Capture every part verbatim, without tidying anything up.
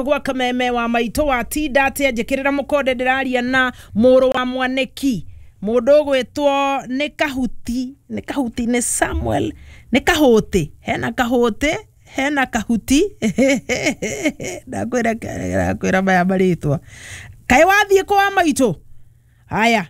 Gwa Kameme wa maitũ wa tinda atia? Njĩkĩrĩra mũkonde, ndĩraria na mũrũ wa mwanĩki, mũndũ ũgwĩtwo nĩ Kahuti, nĩ Kahuti, nĩ Samuel, nĩ Kahũtĩ. Hena Kahũtĩ, hena Kahuti. Ndakwĩra, ndakwĩra maya marĩtwa. Kaĩ wathiĩ kũ wa maitũ? Haya,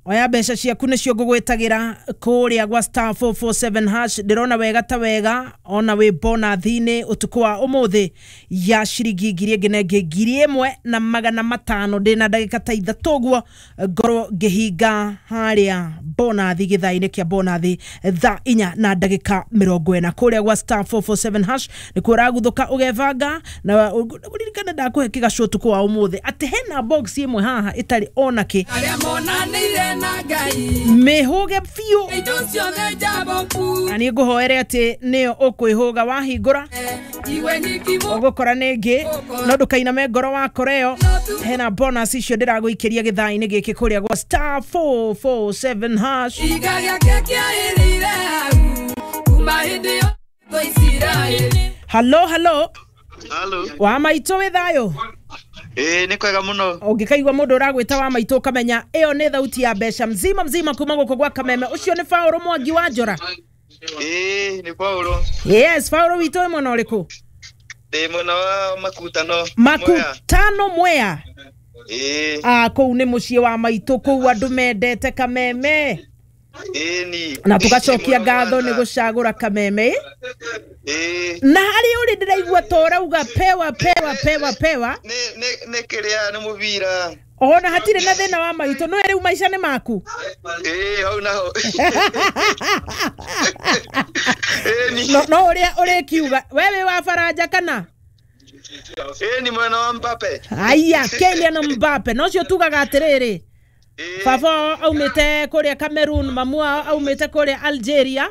oya mbeca ciaku, nĩcio ngũgwĩtagĩra kũrĩa gwa star four four seven hash. Ndĩrona wega ta wega ona wĩ bonathi-inĩ ũtukũ wa ũmũthĩ ya ciringi ngiri ĩngĩ na ĩngĩ ngiri ĩmwe na magana matano. Ndĩna ndagĩka ta ithatũ ũguo ngorwo ngĩhinga harĩa bonathi, gĩthaa-inĩ kĩa bonathi thaa inya na ndagĩka mĩrongo ĩna. Kũrĩa gwa star four four seven hash nĩkuo ũraguthũka ũgebanga, na ũririkane ndakũhe kĩgacũ ũtukũ wa ũmũthĩ atĩ hena box ĩmwe haha ĩtarĩ ona kĩ. Arĩa monanĩire na Ngai. Mĩhũge biũ. Indo ciothe njamboku. Na niĩ ngũhoere atĩ nĩyo ũkwĩhũga wahingũra. Iwe nyiki. Ũgũkora nĩ ĩngĩ, no ndũkainame ngoro wakora ĩyo. Hena bonus icio ndĩragũikĩria gĩthaa-inĩ gĩkĩ kũrĩa gwa star four four seven hash. Iga gĩake kĩaĩrĩire hau kuma hĩndĩ ĩyo twa Isiraeli. Halo, halo. Halo. Wa maitũ, wĩ thayũ? Ĩĩ, nĩ kwega mũno. Ũngĩkaigua mũndũ ũragwĩta wa maitũ, ũkamenya ĩyo nĩ thauti ya mbeca mzima mzima kuma gũkũ gwa Kameme. Ũcio nĩ Faũrũ Mwangi wa Njora? Ĩĩ, nĩ Paulo. Yes, Faũrũ witũ, wĩ mwena ũrĩkũ? Ndĩ mwena wa Makutano. Mwea. Makutano, Mwea. Ĩĩ. Ah, kũu nĩ mũciĩ wa maitũ, kũu andũ mendete Kameme. Ĩĩ ni. Na tũgacokia ngatho nĩ gũcagũra Kameme. Ĩĩ. Na harĩa ũrĩ ndĩraigua ta ũrauga pewa, pewa, pewa, pewa. Nĩ nĩ nĩ kĩrĩa, nĩ mũbira. Ona hatirĩ na thĩna wa maitũ, nĩ rĩu maica nĩ maku. Ĩĩ, hau naho. Ĩĩ ni. no no ũrĩa ũrĩkiuga we wĩ wa Baranja kana? Ĩĩ, ni mwena wa Mbappe. Aya, Kylian Mbappe. No cio tugaga atĩrĩrĩ, Ĩĩ. baba wao aumĩte kũrĩa Cameroon, mamu wao aumĩte kũrĩa Algeria.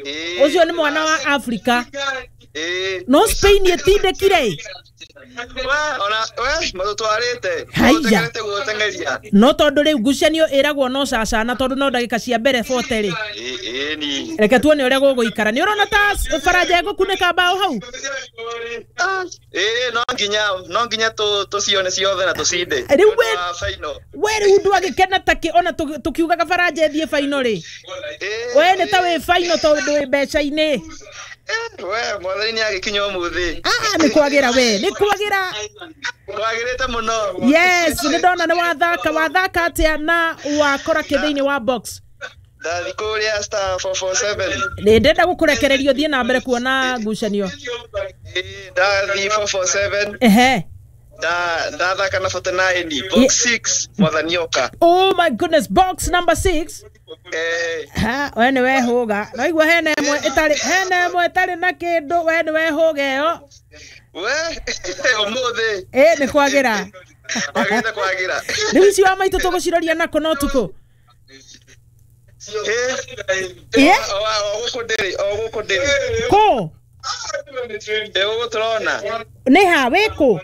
Ĩĩ. Ũcio nĩ mwana wa Afrika. Ĩĩ. No Spain ĩtindĩkire. We ona we matũtwarĩte. Haiya. Tũteng'erete gũteng'eria. No tondũ rĩu ngucanio ĩragwo no cacana, tondũ no ndagĩka cia mbere forty rĩ. Ĩĩ, ĩĩ ni. Reke tuone ũrĩa gũgũikara. Nĩ ũrona ta Baranja ĩgũkunĩka mbaũ hau? Ĩĩ, no nginya no nginya tũ tũcione ciothe na tũcinde. Rĩu we- Mwena wa final. We rĩu ndwagĩkena takĩ ona tũgĩ- tũkiugaga Baranja ĩthiĩ final rĩ? Ĩĩ. We nĩ ta wĩ final tondũ wĩ mbeca-inĩ. Eh, we mwathani nĩ agĩkinya ũmũthĩ. Ah, nĩ kwagĩra, we nĩ kwagĩra. Kwagĩrĩte mũno. Yes, nĩ ndona nĩ wathaka. Wathaka atĩa na wakora kĩ thĩinĩ wa box? Ndathi kũrĩa star four four seven. Nĩ ndenda gũkũrekereria ũthiĩ na mbere kuona ngucanio. Ĩĩ, ndathi four four seven. Ehe. nda ndathaka na forty-nine, box six, mwathani oka. Oh my goodness, box number six. Eh. Ha, we nĩ wehũga, naigua hena ĩmwe ĩtarĩ, hena ĩmwe ĩtarĩ na kĩndũ. We nĩ wehũga ĩyo. We ũmũthĩ. Ĩ, nĩ kwagĩra. Kwagĩrĩte kwagĩra. Rĩu ici wa maitũ tũgũciroria nako no tukũ? Ĩ. Ĩ? O o gũkũ ndĩrĩ, o gũkũ ndĩrĩ. Kũ? Ĩ, gũkũ tũrona. Nĩ ha wĩkũ?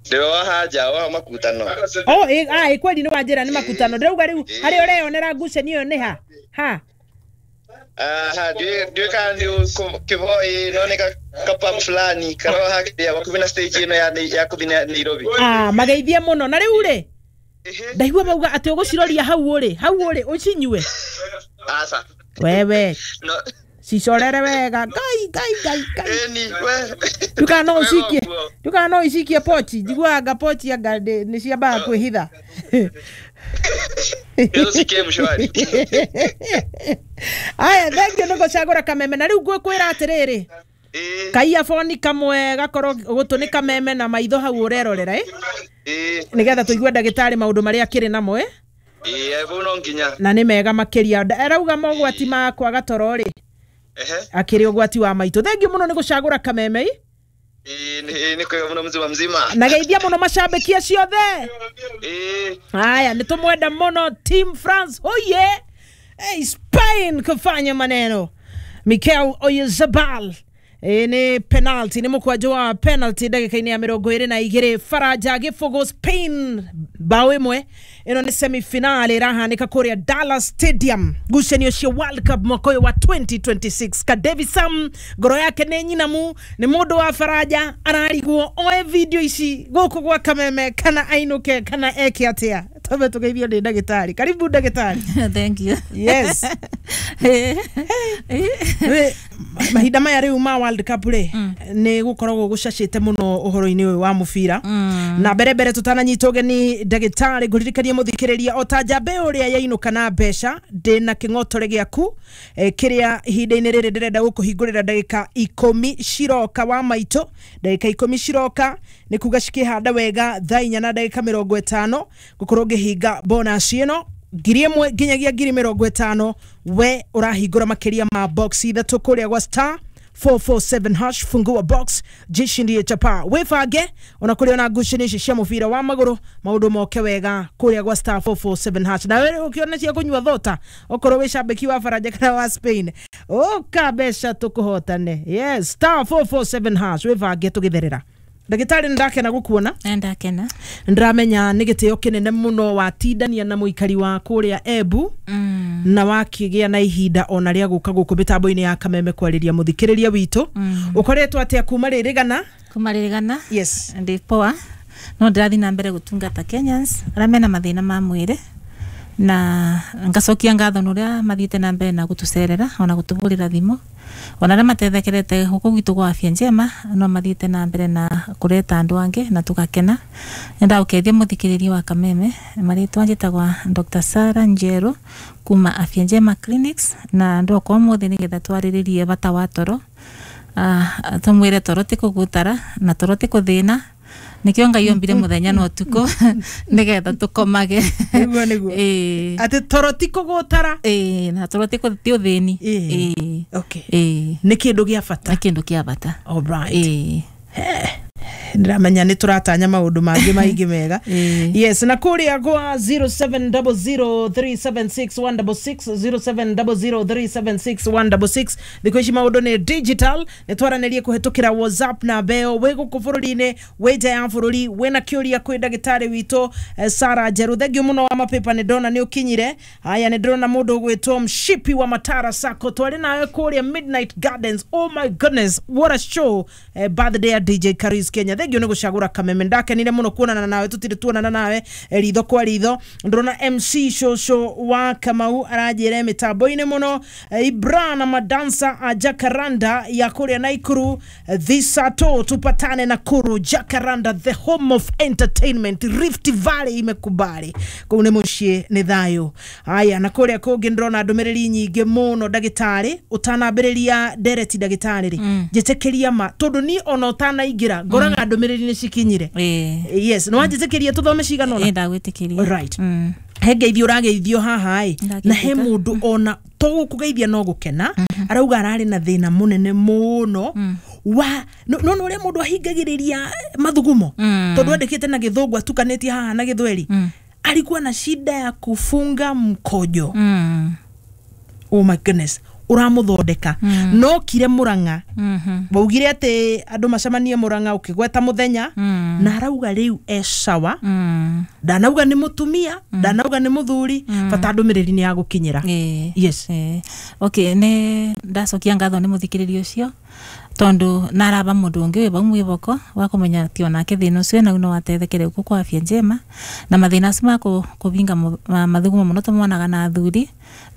Ndĩ wa hanja wa Makutano. Oh, ĩ, ah, ĩ kweli nĩ wanjĩra nĩ Makutano. Ndĩrauga rĩu harĩa ũreyonera ngucanio ĩyo nĩ ha ha? Aha, ndiũĩ kana nĩ Kĩboi, no nĩ kapub fulani karoha hakĩrĩa hakuhĩ na stage ĩno ya ya kũthiĩ Nairobi. Ah, mageithie mũno. Na rĩu rĩ, Ehe. ndaigua mauga atĩ ũgũciroria hau ũrĩ, hau ũrĩ ũcinyue. Aca. Wewe. No. Cicorere wega. Ngai, ngai, ngai, ngai. Ĩni we. Ndukana no ũcikie, Wega ũguo. ndukana no ũcikie pochi. Njiguaga pochi anga nĩ nĩ ciambaga kwĩhitha. Hizo cikie mshwari. Aya, thank you nĩ gũcagũra Kameme. Na rĩu ngwĩkwĩra atĩrĩrĩ, Ĩĩ. kaiyaboni kamwe gakorwo gũtũ nĩ Kameme na maitho hau ũrerorera ĩ, Ĩĩ. nĩgetha tũigue ndagĩtarĩ maũndũ marĩa akĩrĩ namo ĩ. Ĩĩ, vau no nginya. Na nĩ mega makĩria. Arauga mogwati ma kwaga toro rĩ, Ehe. akĩrĩ ũgwati wa maitũ. Thank you mũno nĩ gũcagũra Kameme ĩ. Ĩĩ, nĩ nĩ kwega mũno, mzima mzima. Na geithia mũno macambĩki acio othe. Ĩĩ. Haya, nĩ tũmwenda mũno. Team France oye! Hey, Spain kufanya maneno. Mikel Oyarzabal. Ĩ nĩ penalty, nĩ mũkwanjũ wa penalty ndagĩka-inĩ ya mĩrongo ĩrĩ na igĩrĩ. Faranja gĩbũgũ Spain bao ĩmwe. Ĩno nĩ semifinal ĩrahanĩka kũrĩa Dallas Stadium, ngucanio cia World Cup mwaka ũyũ wa twenty twenty-six. Kadevi Sam ngoro yake nĩ nyinamu, nĩ mũndũ wa Faranja, ararigwo oe video ici gũkũ gwa Kameme kana ainũke kana eke atĩa. Twambe tũgeithio nĩ ndagĩtarĩ. Karibu ndagĩtarĩ. Thank you. Yes. Rĩ, mahinda maya rĩu ma World Cup rĩ, nĩ gũkoragwo gũcacĩte mũno ũhoro-inĩ ũyũ wa mũbira. Na mbere mbere tũtananyita ũgeni ndagĩtarĩ, ngũririkanie mũthikĩrĩria o ta njambe ũrĩa yainũka na mbeca, ndĩna kĩng'otore gĩaku eh, kĩrĩa ihinda-inĩ rĩrĩ ndĩrenda gũkũhingũrĩra ndagĩka ikũmi ciroka wa maitũ. Ndagĩka ikũmi ciroka nĩ kuga cikĩhanda wega thaa inya na ndagĩka mĩrongo ĩtano ngũkorwo ngĩhinga bonus ĩno ngiri ĩmwe nginyagia ngiri mĩrongo ĩtano. We ũrahingũra makĩria ma box ithatũ kũrĩa gwa star four four seven hash, fungua box jishindie chapa. Wĩbange ona kũrĩ ona ngucanio ici cia mũbira wa magũrũ, maũndũ moke wega kũrĩa gwa star four four seven hash. Na wewe ũkĩona cia kũnyua thota, okorwo wĩ cambĩki wa Faranja kana wa Spain, ũka mbeca tũkũhotane. Yes, star four four seven hash, wĩbange tũgĩtherera. Ndagĩtarĩ, nĩndakena gũkuona. Ndakena. Ndĩramenya nĩ gĩtĩo kĩnene mũno watindania na mũikari wa kũrĩa Embu Mm. na wakĩgĩa na ihinda ona rĩa gũka gũkũ mĩtambo-inĩ ya Kameme kwarĩria mũthikĩrĩria witũ. Ũkoretwo atĩa kuma rĩrĩgana? Kuma rĩrĩgana? Yes. Ndĩ poa, no ndĩrathiĩ na mbere gũtungata Kenyans arĩa mena mathĩna ma mwĩrĩ, na ngacokia ngatho nĩ ũrĩa mathiĩte na mbere na gũtũcerera ona gũtũhũrĩra thimũ, ona arĩa matethekerete gũkũ gwitũ gwa Afya Njema no mathiĩte na mbere na kũreta andũ angĩ na tũgakena. Nĩndagũkeithia mũthikĩrĩria wa Kameme. Marĩtwa njĩtagwa Doctor Sarah Njeru kuma Afya Njema Clinics, na ndoka ũmũthĩ nĩgetha twarĩrĩrie bata wa toro. Ah, tũmwĩre toro ti kũgutara na toro ti kũthĩna, nikio Ngai ombire mũthenya na ũtukũ nĩgetha tũkomage. Nĩguo, nĩguo. Ĩĩ. Atĩ toro ti kũgũtara. Ĩĩ, na toro ti kũ- ti ũthĩni. Ĩĩ. Ĩĩ. Okay. Ĩĩ. Nĩ kĩndũ gĩa bata. Nĩ kĩndũ kĩa bata. All right. Ĩĩ. Ndĩramenya nĩ tũratanya maũndũ mangĩ maingĩ mega. Ĩĩ. Yes, na kũrĩa gwa zero seven double zero three seven six one double six, zero seven double zero three seven six one double six. Thikũ ici maũndũ nĩ digital, nĩ twaranĩrie kũhetũkĩra WhatsApp na mbeo. Wĩ gũkũ bũrũri-inĩ, wĩ nja ya bũrũri, wĩna kĩũria kwĩ ndagĩtarĩ witũ eh, Sarah Njeru. Thengiũ mũno wa mapepa, nĩ ndona nĩ ũkinyire. Haya, nĩ ndĩrona mũndũ ũgwĩtwo Mshipi wa Matara Sacco, twarĩ nawe kũrĩa Midnight Gardens. Oh my goodness, what a show. eh, birthday ya D J Karis Kenya. Thengiũ nĩ gũcagũra Kameme, ndakenire mũno kuonana nawe, tũtirĩ tuonana nawe eh, ritho kwa ritho. Ndĩrona M C Shosho wa Kamau aranjĩra mĩtambo-inĩ mũno. eh, Ibra na madansa a Jacaranda ya kũrĩa Naikuru, eh, Thisato tupatane Nakuru. Jacaranda, the home of entertainment, Rift Valley imekubali kũu nĩ mũciĩ, nĩ thayũ. Haya, na kũrĩa kũngĩ ndĩrona ndũmĩrĩri nyingĩ mũno. Ndagĩtarĩ, ũtanambĩrĩria ndereti ndagĩtarĩ rĩ, njĩtĩkĩria ma tondũ niĩ ona ũtanaingĩra ngoraga ndũmĩrĩri nĩ cikinyire. Ĩĩ. Yes, nĩ wanjĩtĩkĩria tũthome cigana ũna? Ĩĩ, ndagwĩtĩkĩria. Right. Mm. He ngeithio ũrageithio haha ĩ, na he Ndageithĩka. mũndũ ona to gũkũgeithia no gũkena, arauga ararĩ na thĩna mũnene mũno wa no no ũrĩa mũndũ ahingagĩrĩria mathugumo, Mm. tondũ andĩkĩte na gĩthũngũ atukanĩtie haha na gĩthweri. Mm. Alikuwa na shida ya kufunga mkojo. Mm. Oh my goodness, ũramũthondeka no kire Mũrang'a. Mhm. Waugire atĩ andũ macemanie Mũrang'a, ũkĩgweta mũthenya, Mm. na arauga rĩu e sawa. Mm. Ndanauga nĩ mũtumia, ndanauga nĩ mũthuri, bata ndũmĩrĩri nĩ ya gũkinyĩra. Ĩĩ. Yes. Ĩĩ. Okay, nĩ ndacokia ngatho nĩ mũthikĩrĩria ũcio, tondũ naraba mũndũ ũngĩ wĩ vau mwĩboko wa kũmenya atĩ onake thĩna ũcio enau no atethekere gũkũ kwa Afya Njema. Na mathĩna acio ma kũ- kũbinga mũ- ma- mathugumo mũno tũmonaga na athuri,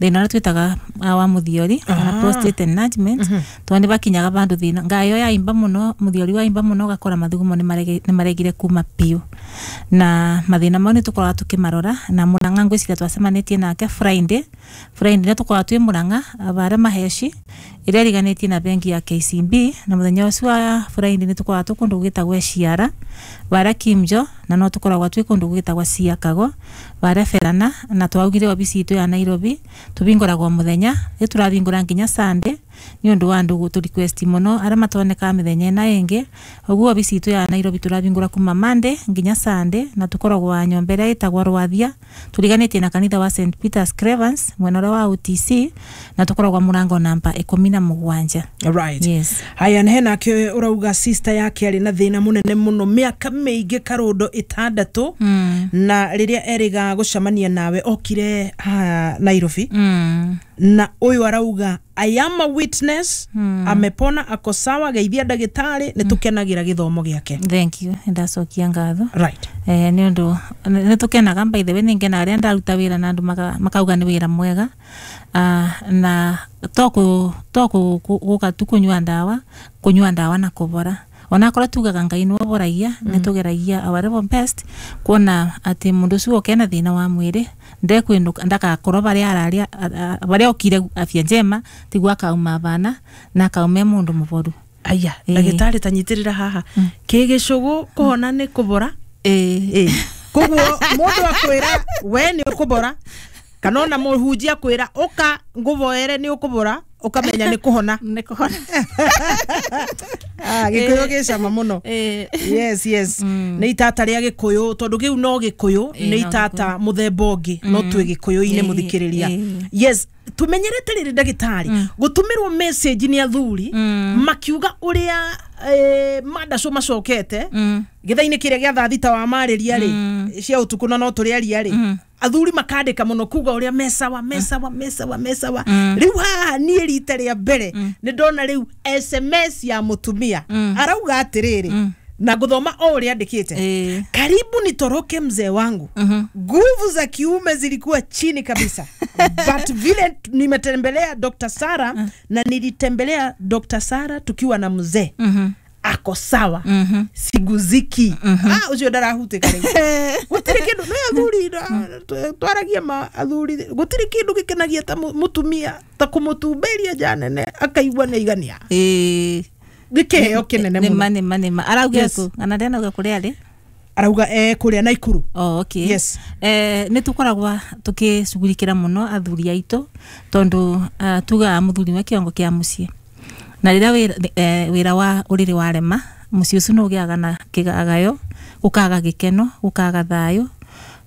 thĩna ũrĩa twĩtaga ah, wa mũthiori kana Ah. prostate enlargement, tondũ nĩ bakinyaga bandũ thĩna ngayo yaimba mũno, mũthiori waimba mũno, ũgakora mathugumo nĩ marege- nĩ maregire kuma biũ. Na mathĩna mau nĩ tũkoragwo tũkĩmarora na Mũrang'a. Ngwĩciria twacemanĩtie nake Friday. Friday nĩ tũkoragwo twĩ Mũrang'a barĩa Maheci ĩrĩa ĩriganĩtie na bengi ya K C B, na mũthenya ũcio wa Friday nĩ tũkoragwo twĩ kũndũ gwĩtagwo Ciara barĩa Kimjo, na no tũkoragwo twĩ kũndũ gwĩtagwo Ciakago barĩa Berana. Na twaugire wabici itũ ya Nairobi tũbingũragwo mũthenya, rĩu tũrabingũra nginya Sunday. Nĩ ũndũ wa andũ gũtũ request mũno arĩa matonekaga mĩthenya ĩna ĩngĩ. Ũguo obici itũ ya Nairobi tũrabingũra kuma Monday nginya Sunday, na tũkoragwo nyũmba ĩrĩa ĩtagwo Rwathia, tũriganĩtie na kanitha wa Saint Peter's Cravens mwena ũrĩa wa O T C, na tũkoragwo mũrango namba ikũmi na mũgwanja. Right. Yes. Haya, na henake ũrauga sister yake arĩ na thĩna mũnene mũno mĩaka mĩingĩ, karũndo ĩtandatũ, mm. na rĩrĩa erĩga gũcemania nawe okire haha Nairobi, Mm. na ũyũ arauga, "I am a witness mm. amepona, ako sawa, geithia ndagĩtarĩ, nĩ tũkenagĩra gĩthomo gĩake." Thank you, ndacokia ngatho. Right. Eh, nĩ ũndũ nĩ tũkenaga. By the way, nĩ ngenaga rĩrĩa ndaruta wĩra na andũ maka- makauga nĩ wĩra mwega. Ah, na to kũ- to kũ- kũ- gũka tu kũnyua ndawa, kũnyua ndawa na kũbora, onakorwo tugaga Ngai nĩwe ũboragia, nĩ tũgeragia our level best kuona atĩ mũndũ ũcio woka ena thĩna wa mwĩrĩ ndekwĩnũka ndagakorwo barĩa ararĩa a- a- barĩa okire afya njema tiguo akauma bana na akauma e mũndũ mũboru. Aya. Ĩĩ. Ndagĩtarĩ, tanyitĩrĩra haha kĩ gĩcũgũ, kũhona nĩ kũbora. Ĩĩ. Ĩ, koguo mũndũ akwĩra we nĩ ũkũbora, kana ona mũhunjia akwĩra ũka ngũvoere nĩ ũkũbora, ũkamenya nĩ kũhona. Nĩ kũhona. Ah, gĩkũyũ gĩ cama mũno. Ĩĩ. yes yes nĩ itata rĩa gĩkũyũ, tondũ kĩu no gĩkũyũ. Ĩĩ, nĩ no. Itata mũthemba ũngĩ no twĩ gĩkũyũ-inĩ. Ĩĩ, Mũthikĩrĩria. Ĩĩ. Yes, tumenyerete rĩrĩ ndagĩtarĩ gũtũmĩrwo message nĩ athuri makiuga ũrĩa eh, mandacũ macokete gĩthaa-inĩ kĩrĩa gĩa thaa thita wa marĩria rĩ cia ũtukũ, na no tũrĩaria rĩ, athuri makandĩka mũno kuga ũrĩa mesawa mesawa mesawa mesawa. Rĩu haha niĩ rita rĩa mbere nĩ ndona rĩu S M S ya mũtumia arauga atĩrĩrĩ, na ngũthoma o ũrĩa andĩkĩte: Ĩĩ. "Karibu nitoroke mzee wangu, nguvu za kiume zilikuwa chini kabisa, but vile nimetembelea Doctor Sara na nilitembelea Doctor Sara tukiwa na mzee, ako sawa, siguziki." Ah, ucio ndarahutĩka rĩu, gũtirĩ kĩndũ nĩ athuri na- twaragia ma athuri, gũtirĩ kĩndũ gĩkenagia ta mu- mũtumia ta kũmũtumberia nja nene akaigua nĩ aigania. Ĩĩ. Nĩ kĩheo kĩnene nĩma mũno. Nĩma, nĩma. Arauga Yes. kũ kana ndenauga kũrĩa arĩ? Arauga eh, kũrĩa Naikuru. Oh, okay. Yes. Eh, nä tå koragwa tå kä cugurikĩra mũno athuri aitũ, tondũ uh, tugaga mũthuri nĩwe kĩongo kĩa mũciĩ, na rĩrĩa wĩra, eh, wĩra wa ũrĩrĩ warema, mũciĩ ũcio nĩ ũgĩaga na kĩgagayo, gũkaga gĩkeno, gũkaga thayũ,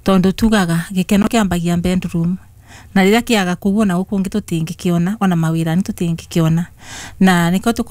tondũ tugaga gĩkeno kĩambagia bedroom, na rĩrĩa kĩaga kũu ona gũkũ ũngĩ tũtingĩkĩona, ona mawĩra-inĩ tũtingĩkĩona, na nĩkĩo tũkoragwo